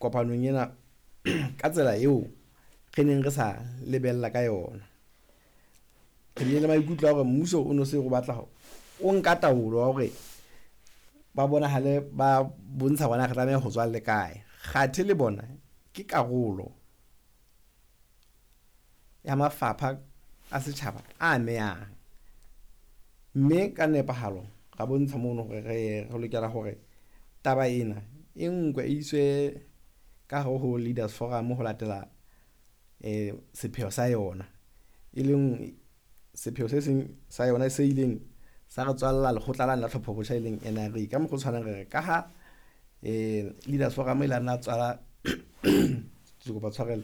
kopanong ena ka tsela eo re neng re sa lebella ka yona. Re bile le maikutlo a hore mmuso o no se o batla o nka taolo ya hore ba bonahale ba bontsha hore na re tlameha ho tswa le kae. Kgathe le bona ke karolo ya mafapha a setjhaba a amehang, mme ka nepahalo ra bontsha mono hore re lokela hore taba ena e nkwe e iswe ka hare ho Leaders Forum ho latela sepheo sa yona, e leng sepheo se seng sa yona se ileng sa re tswalla lekgotla lane la tlhopho botjha, e leng NRA. Ka mokgwa o tshwanang re re ka ha Leaders Forum e la nna tswala ke kopa tshwarelo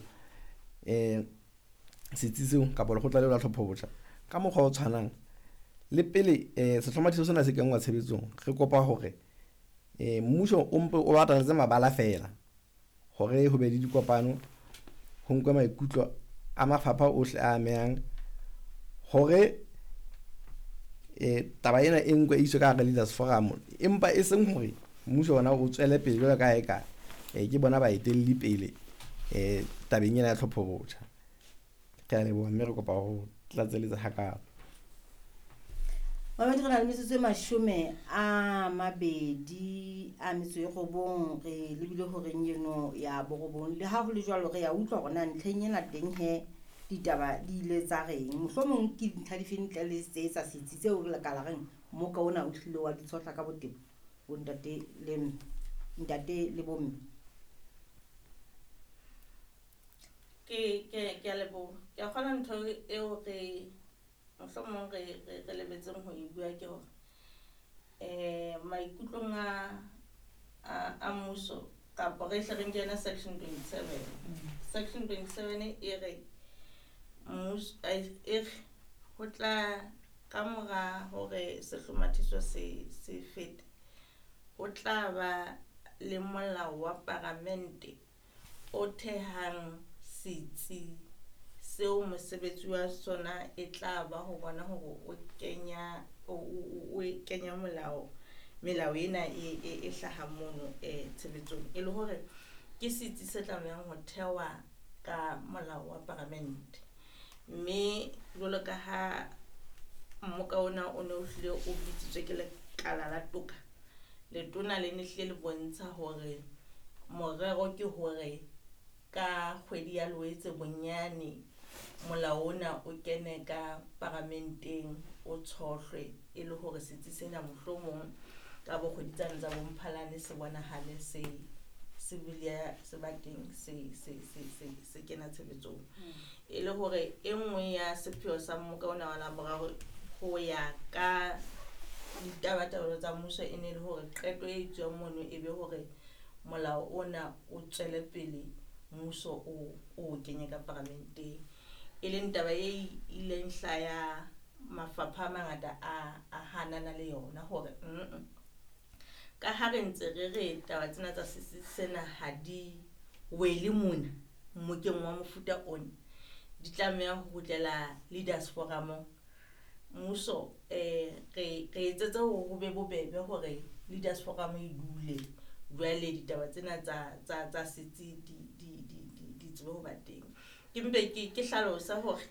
setsi seo kapa lekgotla leo la tlhopho botjha ka mokgwa o tshwanang le pele sehlomathiso sena se kenngwa tshebetsong, re kopa hore mmuso o mpe o bataletse mabala feela hore ho be le dikopano, ho nkwe maikutlo a mafapha ohle a amehang hore taba ena e nkwe e iswe ka hara Leaders Forum, empa e seng hore mmuso ona o tswele pele jwalo ka ha eka ke bona baetelli pele tabeng ena ya tlhopho botjha. Ke a leboha mme re kopa ho tlatseletsa hakalo. Mamedi, re na le metsotso e 29 re lebile horeng eno ya 9. Le ha ho le jwalo, re ya utlwa hore na ntlheng ena teng he ditaba di ile tsa reng. Mohlomong ke dintlha dife ntle le tse tsa setsi tseo re ka la reng mmoka ona o hlile wa di tshohla ka botebo, bo ntate le mme, ntate le bomme. Ke a leboha. Ke a kgolwa ntho eo re mohlomong re lebetseng ho e bua ke hore maikutlong a mmuso kapa re hle re nke yona section 27. Section 27 e re mmuso, e re ho tla ka mora hore sehlomathiso se fete, ho tla ba le molao wa paramente o thehang setsi seo mosebetsi wa sona e tla ba ho bona hore o kenya o kenya molao melao ena e hlahang mono tshebetsong, e le hore ke setsi se tlamehang ho thewa ka molao wa paramente. Mme jwalo ka ha mmoka ona o ne o hlile o bitsitswe ke lekala la toka, letona le ne hlile le bontsha hore morero ke hore ka kgwedi ya Loetse bonyane molao ona o kene ka paramenteng o tshohlwe, e le hore setsi sena mohlomong ka bo kgwedi tsane tsa bo Mphalane se bonahale se se bile se ba teng se kena tshebetsong. E le hore e nngwe ya sepheo sa mmoka ona wa Laboraro ho ya ka ditabatabelo tsa mmuso e ne le hore qeto e tswang mono e be hore molao ona o tswele pele mmuso o kenye ka paramenteng, e leng taba e ileng hlaya mafapha a mangata a hanana le yona hore ka ha re ntse re re taba tsena tsa setsi sena ha di wele mona mmokeng wa mofuta ona, di tlameha ho kgutlela Leaders Forum. Mmuso re etsetse hore ho be bobebe hore Leaders Forum e dule jwale ditaba tsena tsa setsi di tsebe ho ba teng. Ke mpe ke hlalosa hore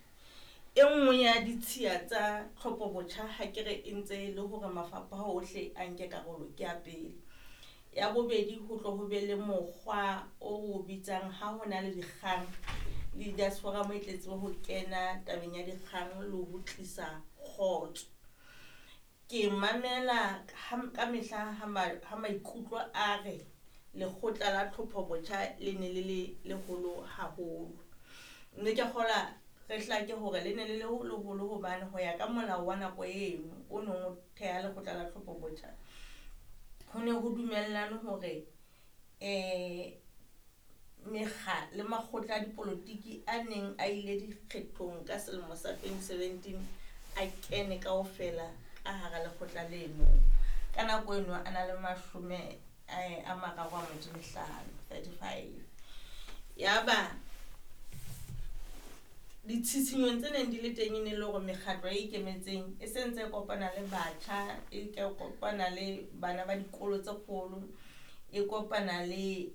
e nngwe ya ditshiya tsa tlhopho botjha ha ke re e ntse e le hore mafapha ohle a nke karolo ke ya pele. Ya bobedi, ho tlo ho be le mokgwa o bitsang ha ho na le dikgang, Leaders Forum e tle tsebe ho kena tabeng ya dikgang le ho tlisa kgotso. Ke mamela ka mehla ha maikutlo a re lekgotla la tlhopho botjha le ne le le leholo haholo. Mme ke kgolwa re hlake hore le ne le le leholo hobane ho ya ka molao wa nako eno o neng o theha lekgotla la tlhopho botjha, ho ne ho dumellane hore mekga le makgotla a dipolotiki a neng a ile dikgethong ka selemo sa 2017 a kene kaofela ka hara lekgotla leno. Ka nako eno a na le 35, 35. Yaba ditshitshinyong tse neng di le teng e ne le hore mekgatlo e ikemetseng e se ntse e kopana le batjha, e kopana le bana ba dikolo tse kgolo, e kopana le